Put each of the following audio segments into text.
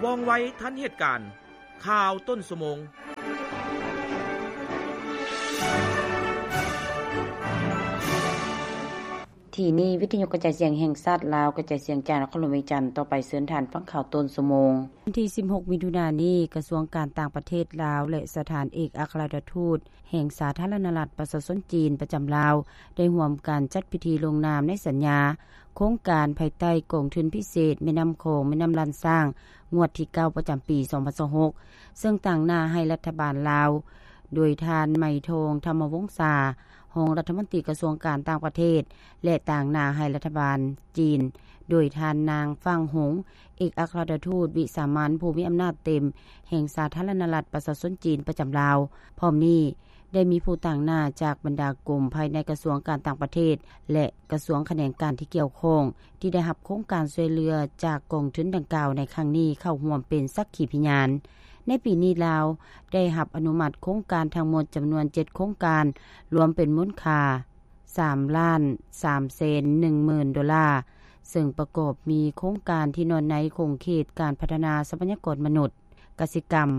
ວ່ອງໄວທັນເຫດການ. ຂ່າວຕົ້ນຊົ່ວໂມງ. ທີ່ນີ້ ວິທະຍຸກະຈາຍສຽງແຫ່ງຊາດລາວ ກະຈາຍສຽງຈາກນະຄອນຫຼວງວຽງຈັນ. ຕໍ່ໄປເຊີນທ່ານຟັງຂ່າວຕົ້ນຊົ່ວໂມງ. ວັນທີສິບຫົກ ມິຖຸນານີ້ ກະຊວງການຕ່າງປະເທດລາວ ແລະ ສະຖານເອກອັກຄະລັດຖະທູດແຫ່ງສາທາລະນະລັດປະຊາຊົນຈີນປະຈຳລາວ ໄດ້ຮ່ວມກັນຈັດພິທີລົງນາມໃນສັນຍາ ໂຄງການພາຍໃຕ້ກອງທຶນພິເສດແມ່ນ້ຳຂອງ ແມ່ນ້ຳລ້ານຊ້າງ ງວດທີເກົ້າ ປະຈຳປີສອງພັນຊາວຫົກ ເຊິ່ງຕາງໜ້າໃຫ້ລັດຖະບານລາວ ໂດຍທ່ານ ໄມທອງ ທຳມະວົງສາ ຮອງລັດຖະມົນຕີກະຊວງການຕ່າງປະເທດ ແລະ ຕາງໜ້າໃຫ້ລັດຖະບານຈີນ ໂດຍທ່ານ ນາງ ຝາງຫົງ ເອກອັກຄະລັດຖະທູດວິສາມັນຜູ້ມີອຳນາດເຕັມແຫ່ງສາທາລະນະລັດປະຊາຊົນຈີນປະຈຳລາວ. ພ້ອມນີ້ ໄດ້ມີຜູ້ຕາງໜ້າຈາກບັນດາກົມພາຍໃນກະຊວງການຕ່າງປະເທດ ແລະ ກະຊວງຂະແໜງການທີ່ກ່ຽວຂ້ອງ ທີ່ໄດ້ຮັບໂຄງການຊ່ວຍເຫຼືອຈາກກອງທຶນດັ່ງກ່າວໃນຄັ້ງນີ້ເຂົ້າຮ່ວມເປັນສັກຂີພະຍານ. ໃນປີນີ້ລາວໄດ້ຮັບອະນຸມັດໂຄງການທັງໝົດຈຳນວນເຈັດໂຄງການ ລວມເປັນມູນຄ່າສາມລ້ານສາມແສນໜຶ່ງໝື່ນໂດລາ, ເຊິ່ງປະກອບມີໂຄງການທີ່ນອນໃນຂົງເຂດການພັດທະນາຊັບພະຍາກອນມະນຸດ, ກະສິກຳ,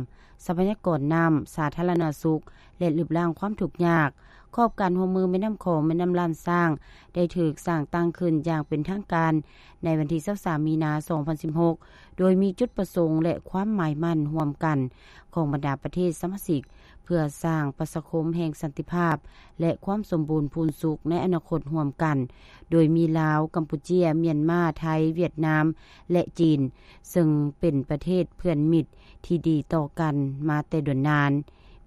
ຊັບພະຍາກອນນ້ຳ, ສາທາລະນະສຸກ ແລະ ລຶບລ້າງຄວາມທຸກຍາກ. ຂອບການຮ່ວມມືແມ່ນ້ຳຂອງ ແມ່ນ້ຳລ້ານຊ້າງ ໄດ້ຖືກສ້າງຕັ້ງຂຶ້ນຢ່າງເປັນທາງການໃນວັນທີຊາວສາມ ມີນາ ສອງພັນສິບຫົກ ໂດຍມີຈຸດປະສົງ ແລະ ຄວາມໝາຍໝັ້ນຮ່ວມກັນຂອງບັນດາປະເທດສະມາຊິກ ເພື່ອສ້າງປະຊາຄົມແຫ່ງສັນຕິພາບ ແລະ ຄວາມສົມບູນພູນສຸກໃນອະນາຄົດຮ່ວມກັນ, ໂດຍມີລາວ, ກຳປູເຈຍ, ມຽນມາ, ໄທ, ຫວຽດນາມ ແລະ ຈີນ, ເຊິ່ງເປັນປະເທດເພື່ອນມິດທີ່ດີຕໍ່ກັນມາແຕ່ດົນນານ,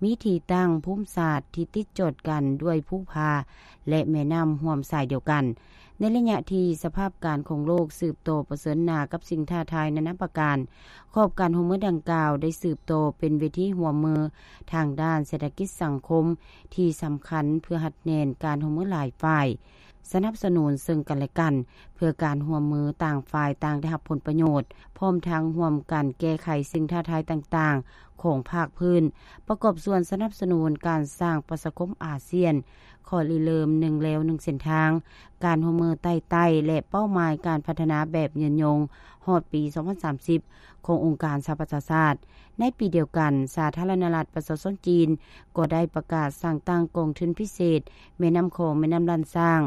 ມີທີ່ຕັ້ງພູມສາດທີ່ຕິດຈອດກັນດ້ວຍພູຜາ ແລະ ແມ່ນ້ຳຮ່ວມສາຍດຽວກັນ. ໃນໄລຍະທີ່ສະພາບການຂອງໂລກສືບຕໍ່ປະເຊີນໜ້າກັບສິ່ງທ້າທາຍນານາປະການ, ຂອບການຮ່ວມມືດັ່ງກ່າວໄດ້ສືບຕໍ່ເປັນເວທີຮ່ວມມືທາງດ້ານເສດຖະກິດສັງຄົມທີ່ສຳຄັນ ເພື່ອຮັດແໜ້ນການຮ່ວມມືຫຼາຍຝ່າຍ, ສະໜັບສະໜູນເຊິ່ງກັນແລະກັນ ເພື່ອການຮ່ວມມືຕ່າງຝ່າຍຕ່າງໄດ້ຮັບຜົນປະໂຫຍດ, ພ້ອມທັງຮ່ວມກັນແກ້ໄຂສິ່ງທ້າທາຍຕ່າງໆຂອງພາກພື້ນ, ປະກອບສ່ວນສະໜັບສະໜູນການສ້າງປະຊາຄົມອາຊຽນ, ຂໍ້ລິເລີ່ມໜຶ່ງແລວໜຶ່ງເສັ້ນທາງ, ການຮ່ວມມືໃຕ້ໃຕ້ ແລະ ເປົ້າໝາຍການພັດທະນາແບບຍືນຍົງຮອດປີສອງພັນສາມສິບຂອງອົງການສະຫະປະຊາຊາດ. ໃນປີດຽວກັນ, ສາທາລະນະລັດປະຊາຊົນຈີນກໍໄດ້ປະກາດສ້າງຕັ້ງກອງທຶນພິເສດແມ່ນ້ຳຂອງ ແມ່ນ້ຳລ້ານຊ້າງ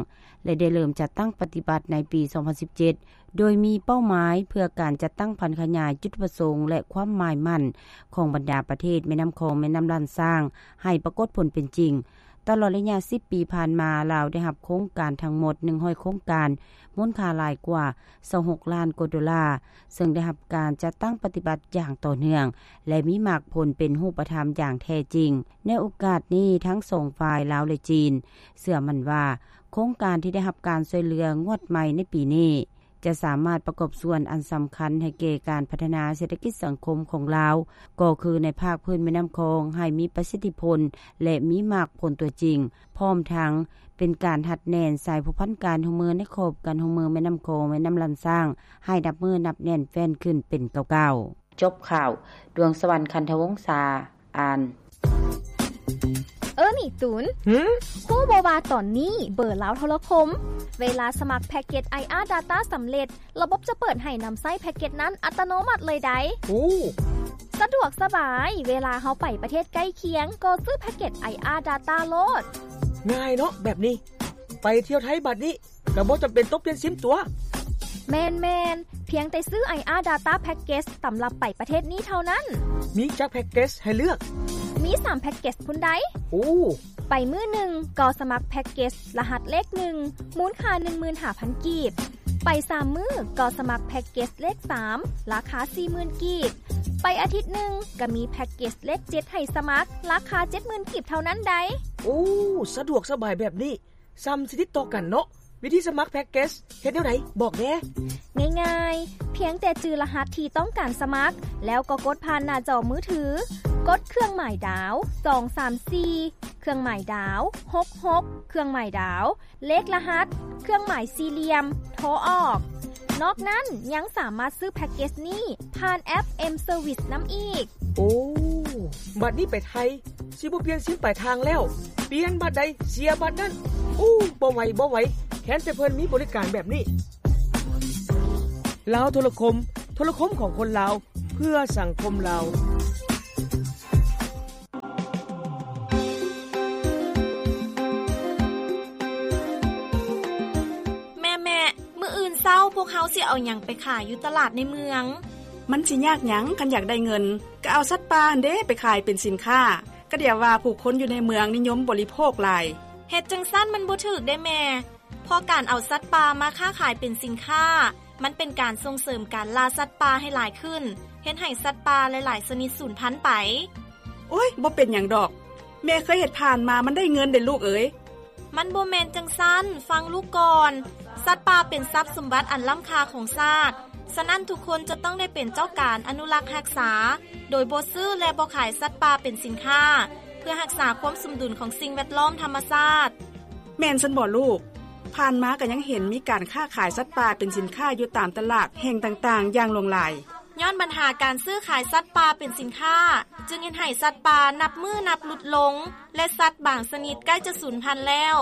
ແລະ ໄດ້ເລີ່ມຈັດຕັ້ງປະຕິບັດໃນປີສອງພັນສິບເຈັດ ໂດຍມີເປົ້າໝາຍເພື່ອການຈັດຕັ້ງຜັນຂະຫຍາຍຈຸດປະສົງ ແລະ ຄວາມໝາຍໝັ້ນຂອງບັນດາປະເທດແມ່ນ້ຳຂອງ ແມ່ນ້ຳລ້ານຊ້າງ ໃຫ້ປາກົດຜົນເປັນຈິງ. ຕະຫຼອດໄລຍະສິບປີຜ່ານມາ, ລາວໄດ້ຮັບໂຄງການທັງໝົດໜຶ່ງຮ້ອຍໂຄງການ, ມູນຄ່າຫຼາຍກວ່າຊາວຫົກລ້ານກວ່າໂດລາ, ເຊິ່ງໄດ້ຮັບການຈັດຕັ້ງປະຕິບັດຢ່າງຕໍ່ເນື່ອງ ແລະ ມີໝາກຜົນເປັນຮູບປະທຳຢ່າງແທ້ຈິງ. ໃນໂອກາດນີ້, ທັງສອງຝ່າຍ, ລາວ ແລະ ຈີນ, ເຊື່ອໝັ້ນວ່າ ໂຄງການທີ່ໄດ້ຮັບການຊ່ວຍເຫຼືອງວດໃໝ່ໃນປີນີ້ ຈະສາມາດປະກອບສ່ວນອັນສຳຄັນໃຫ້ແກ່ການພັດທະນາເສດຖະກິດສັງຄົມຂອງລາວ, ກໍຄືໃນພາກພື້ນແມ່ນ້ຳຂອງ ໃຫ້ມີປະສິດທິຜົນ ແລະ ມີໝາກຜົນຕົວຈິງ, ພ້ອມທັງເປັນການຮັດແໜ້ນສາຍພົວພັນການຮ່ວມມືໃນຂອບການຮ່ວມມືແມ່ນ້ຳຂອງ ແມ່ນ້ຳລ້ານຊ້າງ ໃຫ້ນັບມື້ນັບແໜ້ນແຟ້ນຂຶ້ນເປັນເກົ່າໆ. ຈົບຂ່າວ. ດວງສະຫວັນ ຄັນທະວົງສາ ອ່ານ. ເອີ ນີ້ຕູນ. ຫື? ຮູ້ບໍ່ວ່າຕອນນີ້ເບີລາວໂທລະຄົມ ເວລາສະໝັກແພັກເກັດ ໄອອາ Data ສຳເລັດ, ລະບົບຈະເປີດໃຫ້ນຳໃຊ້ແພັກເກັດນັ້ນອັດຕະໂນມັດເລີຍໃດ໋. ໂອ້ ສະດວກສະບາຍ, ເວລາເຮົາໄປປະເທດໃກ້ຄຽງ ກໍຊື້ແພັກເກັດ ໄອອາ Data ໂລດ. ງ່າຍເນາະແບບນີ້. ໄປທ່ຽວໄທບາດນີ້ ກໍບໍ່ຈຳເປັນຕ້ອງປ່ຽນຊິມຕົວະ. ແມ່ນໆ, ພຽງແຕ່ຊື້ ໄອອາ Data Package ສຳລັບໄປປະເທດນີ້ເທົ່ານັ້ນ. ມີຈັກແພັກເກັດໃຫ້ເລືອກ? ມີສາມແພັກເກັດພຸ້ນໃດ໋. ໂອ້ ໄປມື້ໜຶ່ງກໍສະໝັກແພັກເກັດລະຫັດເລກໜຶ່ງ ມູນຄ່າໜຶ່ງໝື່ນຫ້າພັນກີບ. ໄປສາມມື້ກໍສະໝັກແພັກເກັດເລກສາມ ລາຄາສີ່ໝື່ນກີບ. ໄປອາທິດໜຶ່ງກໍມີແພັກເກັດເລກເຈັດໃຫ້ສະໝັກ ລາຄາເຈັດໝື່ນກີບເທົ່ານັ້ນໃດ໋. ໂອ້ ສະດວກສະບາຍແບບນີ້. ຊ່ຳຊິຕິດຕໍ່ກັນເນາະ. ວິທີສະໝັກແພັກເກັດເຮັດແນວໃດ? ບອກແດ່. ງ່າຍໆ, ພຽງແຕ່ຈື່ລະຫັດທີ່ຕ້ອງການສະໝັກ ແລ້ວກໍກົດຜ່ານໜ້າຈໍມືຖື, ກົດເຄື່ອງໝາຍດາວ ສອງສາມສີ່ ເຄື່ອງໝາຍດາວ ຫົກຫົກ ເຄື່ອງໝາຍດາວ ເລກລະຫັດ ເຄື່ອງໝາຍສີ່ຫຼ່ຽມ ໂທອອກ. ນອກນັ້ນຍັງສາມາດຊື້ແພັກເກັດນີ້ຜ່ານແອັບ M Service ນຳອີກ. ໂອ້ ບັດນີ້ໄປໄທ ຊິບໍ່ປ່ຽນຊິມປາຍທາງແລ້ວ, ປ່ຽນບັດໃດເສຍບັດນັ້ນ. ໂອ້ ບໍ່ໄຫວ ບໍ່ໄຫວ, ແຄ້ນແຕ່ເພິ່ນມີບໍລິການແບບນີ້. ລາວໂທລະຄົມ, ໂທລະຄົມຂອງຄົນລາວ. ເພື່ອສັງຄົມລາວ. ແມ່ໆ ມື້ອື່ນເຊົ້າພວກເຮົາຊິເອົາຫຍັງໄປຂາຍຢູ່ຕະຫຼາດໃນເມືອງ? ມັນຊິຍາກຫຍັງ ຄັນຢາກໄດ້ເງິນ ກໍເອົາສັດປ່າຫັ້ນເດ້ໄປຂາຍເປັນສິນຄ້າ ກະດຽວວ່າຜູ້ຄົນຢູ່ໃນເມືອງນິຍົມບໍລິໂພກຫຼາຍ. ເຮັດຈັ່ງຊັ້ນມັນບໍ່ຖືກເດ້ແມ່ ເພາະການເອົາສັດປ່າມາຄ້າຂາຍເປັນສິນຄ້າ ມັນເປັນການສົ່ງເສີມການລ່າສັດປ່າໃຫ້ຫຼາຍຂຶ້ນ ເຮັດໃຫ້ສັດປ່າຫຼາຍໆຊະນິດສູນພັນໄປ. ໂອ້ຍ ບໍ່ເປັນຫຍັງດອກ ແມ່ເຄີຍເຮັດຜ່ານມາ ມັນໄດ້ເງິນເດ້ລູກເອີຍ. ມັນບໍ່ແມ່ນຈັ່ງຊັ້ນ ຟັງລູກກ່ອນ. ສັດປ່າເປັນຊັບສົມບັດອັນລ້ຳຄ່າຂອງຊາດ, ສະນັ້ນທຸກຄົນຈະຕ້ອງໄດ້ເປັນເຈົ້າການອະນຸລັກຮັກສາ ໂດຍບໍ່ຊື້ ແລະ ບໍ່ຂາຍສັດປ່າເປັນສິນຄ້າ ເພື່ອຮັກສາຄວາມສົມດຸນຂອງສິ່ງແວດລ້ອມທຳມະຊາດ. ແມ່ນຊັ້ນບໍລູກ? ຜ່ານມາກໍຍັງເຫັນມີການຄ້າຂາຍສັດປ່າເປັນສິນຄ້າຢູ່ຕາມຕະຫຼາດແຫ່ງຕ່າງໆຢ່າງຫຼວງຫຼາຍ. ຍ້ອນບັນຫາການຊື້ຂາຍສັດປ່າເປັນສິນຄ້າ ຈຶ່ງເຮັດໃຫ້ສັດປ່ານັບມື້ນັບຫຼຸດລົງ ແລະ ສັດບາງຊະນິດໃກ້ຈະສູນພັນແລ້ວ.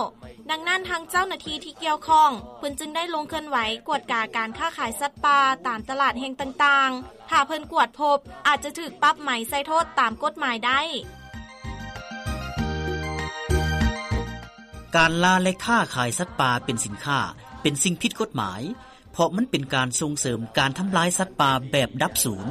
ດັ່ງນັ້ນ ທາງເຈົ້າໜ້າທີ່ທີ່ກ່ຽວຂ້ອງ ເພິ່ນຈຶ່ງໄດ້ລົງເຄື່ອນໄຫວກວດກາການຄ້າຂາຍສັດປ່າຕາມຕະຫຼາດແຫ່ງຕ່າງໆ. ຖ້າເພິ່ນກວດພົບ ອາດຈະຖືກປັບໃໝໃສ່ໂທດຕາມກົດໝາຍໄດ້. ການລ່າ ແລະ ຄ້າຂາຍສັດປ່າເປັນສິນຄ້າ ເປັນສິ່ງຜິດກົດໝາຍ ເພາະມັນເປັນການສົ່ງເສີມການທຳລາຍສັດປ່າແບບດັບສູນ.